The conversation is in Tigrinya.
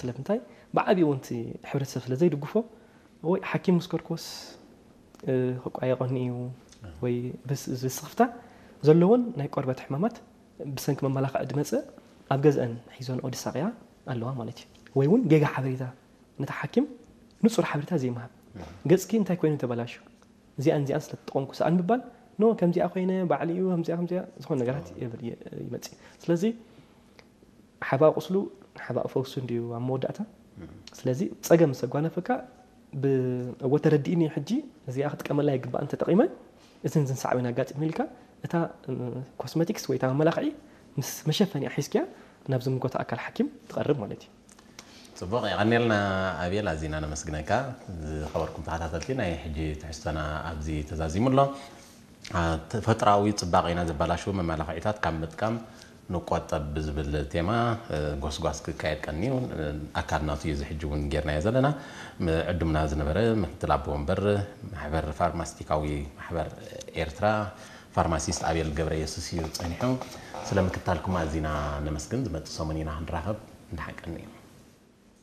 ስለምንታይ? ብዓብዩ እውን እቲ ሕብረተሰብ ስለ ዘይድግፎ፣ ወይ ሓኪም ምስ ከድኩዎስ ክቋየቐኒ እዩ፣ ወይ ብስኽፍታ ዘለዎን ናይ ቆርበት ሕማማት ብሰንኪ መመላኽዒ ዝመፅእ ኣብ ገዝአን ሒዞንኦ ዝሳቐያ ኣለዋ ማለት እዩ። ወይ እውን ጌጋ ሓበሬታ፣ ነቲ ሓኪም ንፁር ሓበሬታ ዘይምሃብ፣ ገፅኪ እንታይ ኮይኑ ተበላሹ፣ እዚኣን እዚኣን ስለ ተጠቐምኩ ሰኣን ምባል፣ ኖ ከምዚኣ ኮይነ ባዕሊ እዩ ከምዚኣ ከምዚኣ ዝኾነ ነገራት ይብል ይመፅእ። ስለዚ ሓባእ ቁስሉ ሓባእ ፈውሱ እንድዩ ኣብ መወዳእታ። ስለዚ ፀገም ምስ ኣጓነፈካ፣ እወ ተረዲእኒ፣ ሕጂ እዚኣ ክጥቀመላ ይግባእ እንተጠቒመ እዝን ዝን ሳዕቤን ኣጋጢሙ ኢልካ፣ እታ ኮስመቲክስ ወይ እታ መመላኽዒ ምስ መሸፈኒኣ ሒዝክያ ናብ ዝምልከቶ ኣካል ሓኪም ትቐርብ ማለት እዩ። ፅቡቕ፣ የቐኔልና ኣቤል፣ ኣዚና ነመስግነካ። ዝኸበርኩም ተኸታተልቲ፣ ናይ ሕጂ ትሕዝቶና ኣብዚ ተዛዚሙ ኣሎ። ተፈጥራዊ ፅባቐና ዘበላሽው መመላኽዒታት ካብ ምጥቃም ንቆጠብ ብዝብል ቴማ ጎስጓስ ክካየድ ቀንዩ። ኣካል ናቱ እዩ ዝሕጂ እውን ጌርናዮ ዘለና። ዕዱምና ዝነበረ ምክትል ኣቦ ወንበር ማሕበር ፋርማስቲካዊ ማሕበር ኤርትራ ፋርማሲስት ኣቤል ገብረ የሱስ እዩ ፀኒሑ። ስለ ምክታልኩም ኣዚና ነመስግን። ዝመፅእ ሰሙን ኢና ክንራኸብ። እንዳሓቀኒ እዩ።